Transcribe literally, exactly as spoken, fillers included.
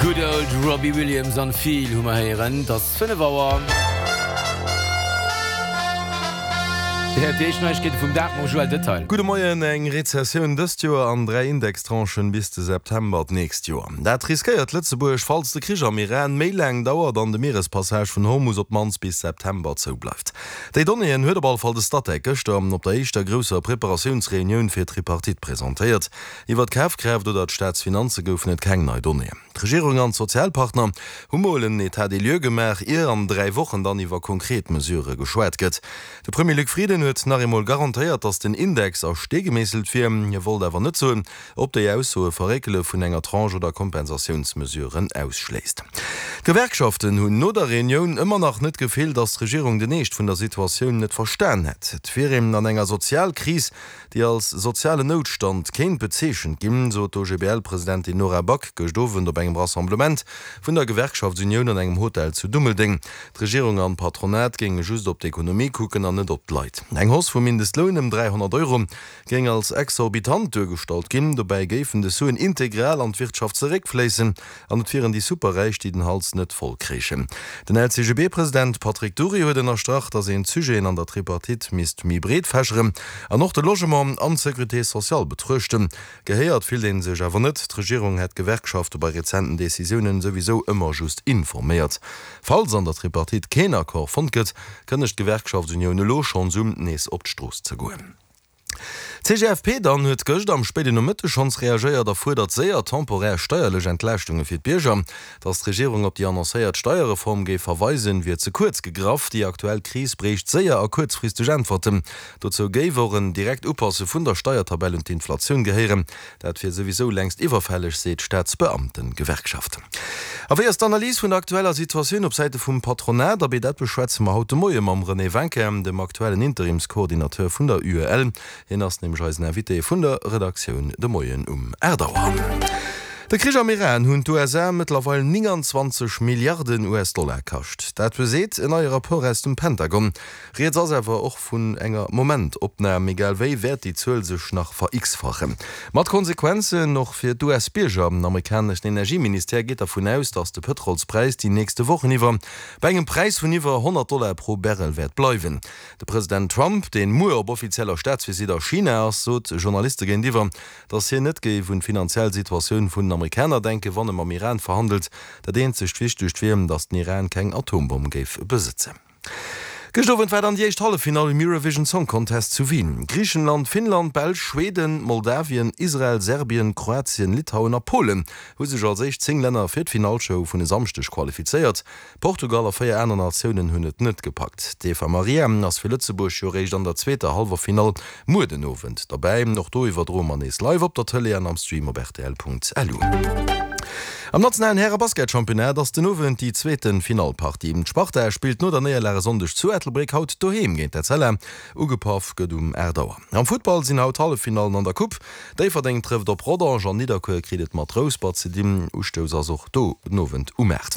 Good old Robbie Williams an Feel hu mer héieren. Et ass fënnef Auer. Dir héiert déi éischt Neiegkeete vum Dag mam Joël Detail. Gudde Moien. Eng Rezessioun dëst Joer an dräi Indextranchen bis de September d'nächst Joer. Dat riskéiert Lëtzebuerg, falls de Krich am Iran méi laang dauert an de Mierespassage vun Hormus op d'mannst bis September zou bleift. Déi Donnéeën huet op alle Fall de Statec gëschter op der éischter grousser Preparatiounsreunioun fir d'Tripartite presentéiert. Iwwer d'Kafkraaft oder d'Staatsfinanze goufen et keng nei Donnéeën. D'Regierung an d'Sozialpartner hu mol en État des lieux gemaach, ier an dräi Wochen dann iwwer konkret Mesurë geschwat gëtt. De Premier Luc Frieden huet nach eemol garantéiert, datt den Index a Stee gemeesselt wier. Hie wollt awer net soen, ob déi Ausso e Verréckele vun enger Tranche oder Kompensatiounsmesuren ausschléisst. D'Gewerkschaften hunn no der Reunioun ëmmer nach net d'Gefill, datt d'Regierung den Eescht vun der Situatioun net verstan hätt. Et wier een an enger Sozialkris, déi als sozialen Noutstand kéint bezeechent ginn, sot d'OGBL-Presidentin Nora Back gëscht Owend op engem Rassemblement vun der Gewerkschaftsunioun an engem Hotel zu Dummeldeng. D'Regierung an d'Patronat géinge just op d'Ekonomie kucken an net op d'Leit. Eng Hausse vum Mindestloun ëm dräihonnert Euro géing als exorbitant duergestallt ginn. Dobäi géifen des Suen integral an d'Wirtschaft zeréckfléissen an et wieren déi Superräich, déi den Hals net voll kréichen. Den L C G B-President Patrick Dury huet ënnerstrach, datt een d'Sujeten an der Tripartite misst méi breet fächeren an och de Logement an d'Sécurité sociale betruechten. Gehéiert fillt ee sech awer net. D'Regierung hätt d'Gewerkschafte bei rezenten Decisiounen souwisou ëmmer just informéiert. Falls an der Tripartite keen Accord fonnt gëtt, kënnegt d'Gewerkschaftsunioun elo schonns un, nees op d'Strooss ze goen. D'C G F P dann huet gëscht am spéiden Nomëtteg schonns reagéiert a fuerdert séier temporär steierlech Entlaaschtunge fir d'Bierger. Datt d'Regierung op déi annoncéiert Steierreform géif verweisen, wier ze kuerz gegraff. Déi aktuell Kris bréicht séier a kuerzfristeg Äntwerten. Dozou géif och en direkt Upasse vun der Steiertabell un d'Inflatioun gehéieren. Dat wier souwisou längst iwwerfälleg, seet d'Staatsbeamtengewerkschaft. A wéi ass d'Analys vun der aktueller Situatioun op Säite vum Patronat? Abee, dat beschwätze mer haut de Moie mam René Winkin, dem aktuellen Interimscoordinateur vun der U E L. Hien ass nämlech eisen Invité vun der Redaktioun de Moien um aacht Auer. De Krich am Iran hunn d'U S A mëttlerweil nénganzwanzeg Milliarden U S-Dollar kascht. Dat beseet en neie Rapport aus dem Pentagon. Rieds ass awer och vun enger Momentopnam, egal wéi wäert déi Zuel sech nach ver-x-fachen. Mat Konsequenzen och fir d'U S-Bierger. Den amerikaneschen Energieministère geet dervun aus, datt de Pëtrolspräis déi nächste Wochen iwwer bei engem Präis vun iwwer honnert Dollar pro Barrel wäert bleiwen. De President Trump, deen muer op offizieller Staatsvisitt a China ass, sot Journaliste géintiwwer, datt hien net géif un d'finanziell Situatioun vun den Amerikaner denken, wann e mam Iran verhandelt. Dat eenzegt Wichtegt wier, datt den Iran keng Atombomm géif besëtzen. Gëscht Owend war dann déi éischt Halleffinall um Eurovision Song Contest zu Wien. Griichenland, Finnland, Belsch, Schweden, Moldawien, Israel, Serbien, Kroatien, Litauen a Polen hu sech als éischt zéng Länner fir d'Finallshow vun e Samschdeg qualifizéiert. Portugal a véier aner Natiounen hunn et net gepackt. D'Eva Maria ass fir Lëtzebuerg jo réischt an der zweeter Hallwerfinall muer den Owend derbäi. Och do iwwerdroe mer nees live op der Tëlee an am Stream op rtl Punkt L U. Am nationalen Häre-Basketchampionnat ass den Owend déi zweete Finallpartie. D'Sparta spillt no der Néierlag e Sonndeg zu Ettelbréck haut doheem géint d'Etzella. Ugepaff gëtt um aacht Auer. Am Futtball sinn haut Halleffinallen an der Coupe. Déifferdeng trëfft op Rodange an Nidderkuer kritt et mat Rouspert ze dinn. Ustouss ass och do den Owend um aacht.